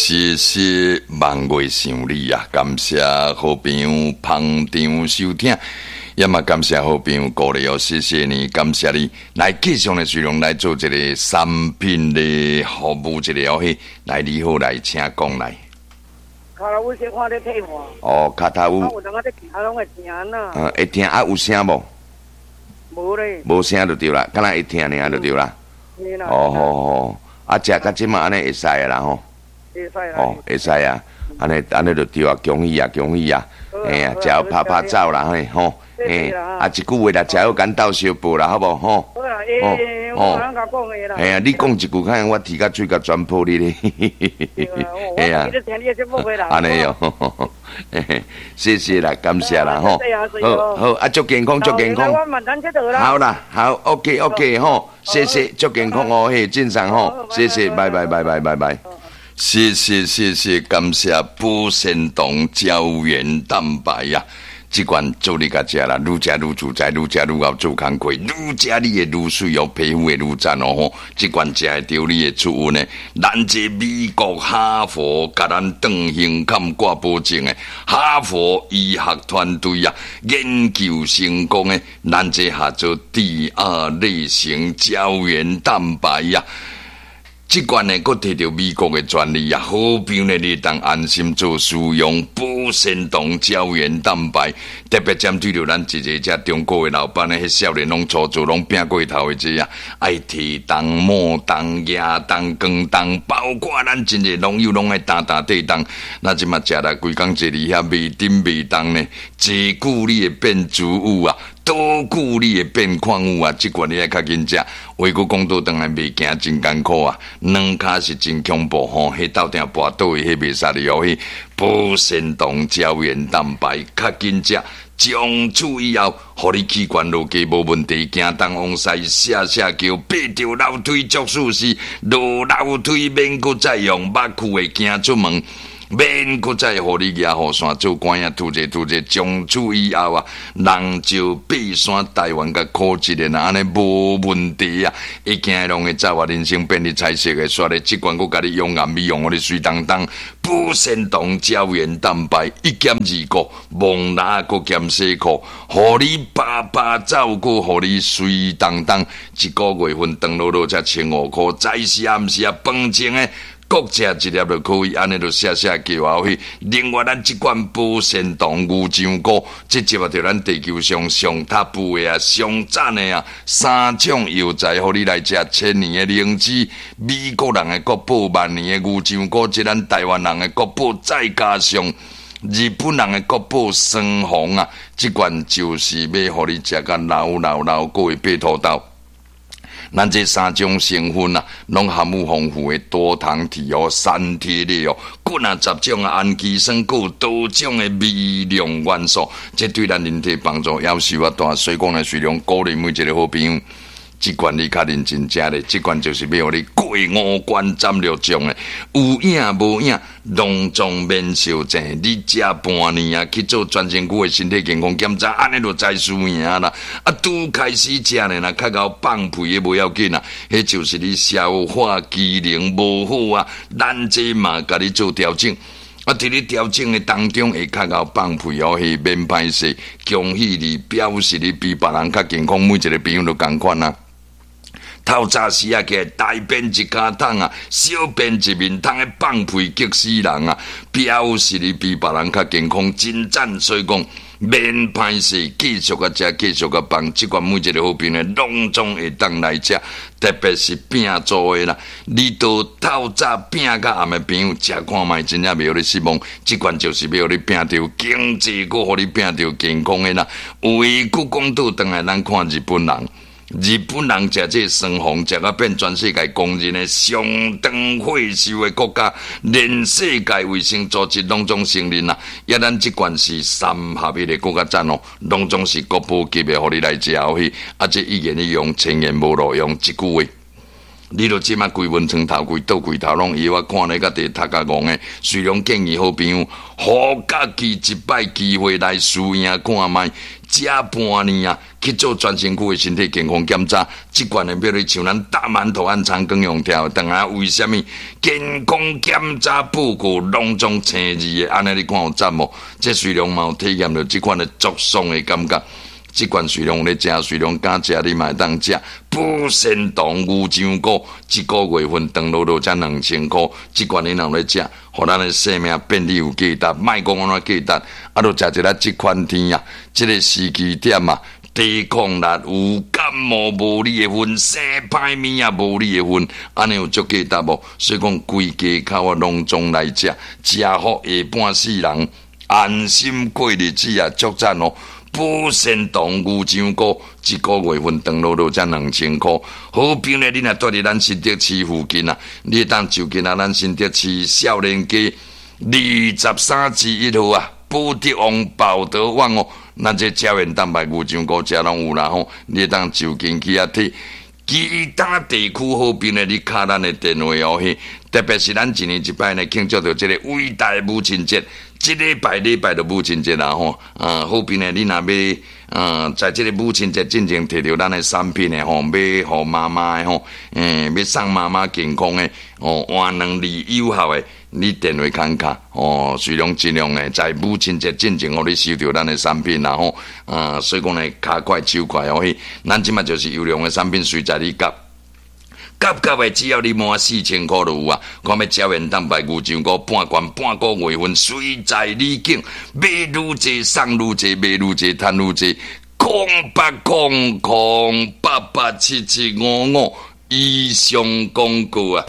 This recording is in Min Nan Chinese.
謝謝望月想你啊！感謝好朋友捧場收聽，也嘛感謝好朋友鼓勵哦，謝謝你，感謝你。來繼續的內容來做一個產品的服務，一個哦嘿，來你好，來請講來。跤頭趺小可咧退化。哦，跤頭趺。啊，有當仔咧行攏會疼啊。會疼啊？有聲無？無咧。無聲就對啦，敢若會疼爾就對啦。哦好好，啊，食到這馬按呢會使的啦吼。會使啦。哦，會使啊，按呢按呢就對啊，恭喜啊，恭喜啊，嘿啊，食好拍拍走啦嘿吼，嘿，啊一句話啦，食好咱鬥相報啦，好無吼？好啦，欸，我通共講的啦。嘿啊，你講一句，看我提甲喙甲全破你咧。嘿啊。按呢喲，謝謝啦，感謝啦吼。好，好，啊，祝健康，祝健康。好啦，好，OK OK 吼，謝謝，祝健康哦，嘿，正常吼，謝謝，拜拜拜拜拜拜。謝謝謝謝，感謝保鮮糖膠原蛋白啊！這款做你共食啦，愈食愈自在，愈食愈𠢕做工課，愈食你會愈媠哦，皮膚會愈讚哦吼！這款食會著你會出運的。咱這美國哈佛共咱斷胸坎掛保證的哈佛醫學團隊啊，研究成功的，咱這合做第二類型膠原蛋白啊！這款呢，閣摕著美國的專利啊，好朋友呢，你會當安心做使用保鮮糖膠原蛋白，特別針對著咱一个遮中國的老闆呢，彼少年攏粗做，攏拼過頭的這啊，愛提重、摸重、舉重、扛重，包括咱真濟農友攏愛擔擔綴重，那這馬食來規工坐佇遐袂振袂動呢，坐久你會變脂脣啊！多久你會變礦物啊？這款你愛較緊食。話閣講倒轉來，袂行真艱苦啊，兩跤是真恐怖吼。彼鬥定跋倒的，彼袂使你哦。彼保鮮糖膠原蛋白較緊食，從此以後，予你器官落加無問題，行東往西，寫寫叫，爬著樓梯足舒適，落樓梯免閣再用目睭會行出門。免閣再予你舉雨傘做官仔，拄者拄者，從此以後啊，人就爬山台灣共苦一个，按呢無問題啊！一行攏會走啊，人生變得彩色的，煞咧這款閣共你養顏美容，予你媠當當，保鮮糖膠原蛋白一減二顧，蒙拿閣減洗褲，予你啪啪走，閣予你媠當當，一個月份長落落才1500箍，早時暗時啊，飯前的。各食一粒就可以，按呢就寫寫叫後去。另外，咱這款保鮮糖牛樟菇，這集合著咱地球上上 top 的啊，上讚的啊，三種藥材，予你來食千年的靈芝，美國人的國寶萬年的牛樟菇，這咱台灣人的國寶，再加上日本人的國寶雙黃啊，這款就是欲予你食甲老老老，閣會爬塗斗。咱這三種成分啊，攏含有豐富的多糖體哦、三萜類哦，閣若10種的氨基酸，閣有多種的微量元素，這對咱人體幫助夭壽啊大。所以講呢，雖然鼓勵每一個好朋友，這款你較認真食咧，這款就是欲予你過五關斬六將的，有影無影，攏總免相爭。你食半年啊，去做全身軀的身體健康檢查，按呢就知輸贏啦。啊，拄開始食呢，若較𠢕放屁的無要緊啊，彼就是你消化機能無好啊，咱這嘛共你做調整。啊，佇你調整的當中會較𠢕放屁哦，彼免歹勢，恭喜你，表示你比別人較健康，每一個朋友都仝款啊。透早時啊，起來大便一跤桶啊，小便一面桶，彼放屁激死人啊！表示你比別人較健康，真讚。所以講免歹勢，繼續共食，繼續共放。這款每一個好朋友攏總會當來食，特別是拼做的啦。你都透早拼到暗的朋友，食看覓真正袂予你失望。這款就是欲予你拼著經濟，閣予你拼著健康的啦。話閣講倒轉來，咱看日本人。日本人食這雙黃，食甲變全世界公認的上長歲壽的國家，連世界衛生組織攏總承認啦。抑咱這款是三合一的閣較讚哦，攏總是國寶級的，予你來食去。啊，這一言一用，千言無路用，一句話。你著這馬規門床頭櫃、桌櫃頭攏藥，我看咧甲佇讀甲戇的。雖然建議好朋友，予家己一擺機會來試驗看覓，食半年啊，去做全身軀的身體健康檢查。這款的比如像咱大饅頭按長庚用聽，當下為啥物健康檢查報告攏總青字的？按呢你看有讚無？這雖然嘛有體驗著這款的足爽的感覺。這款雖然有咧食，雖然敢食，你嘛會當食。補腎糖牛樟菇，一個月份長落落才2000箍。這款你若有咧食，予咱的生命變得有價值。莫講按怎價值，啊，著食一下這款天啊，這個時機點啊，抵抗力有感冒無你的份，生歹物也無你的份，按呢有足價值無？所以講規家口啊，攏總來食，食好下半世人安心過日子啊，足讚哦！補腎糖牛樟菇，一個月份長落落才2000箍。好朋友，你若蹛佇咱新竹市附近啊，你會當就近啊，咱新竹市少年街23之1號啊，寶德旺寶德旺哦，咱這膠原蛋白牛樟菇遮攏有啦吼，你會當就近去遐提。其他地區好朋友，你敲咱的電話哦，嘿，特別是咱一年一擺呢慶祝著這個偉大母親節。這禮拜禮拜就母親節啦吼，啊，好朋友，你若欲，在這個母親節進前提著咱的產品的吼，欲予媽媽的吼，欲送媽媽健康的，哦，換兩字有效的，你電話敲敲，哦，雖然盡量的在母親節進前，予你收著咱的產品啦吼，啊，所以講呢，跤快手快哦，嘿，咱這馬就是優良的產品，隨在你夾。夾夾的，只要你滿4000箍就有啊！看欲膠原蛋白牛樟菇半罐半個月份，隨在你揀，買愈濟送愈濟，買愈濟趁愈濟。0800 887 755以上廣告啊！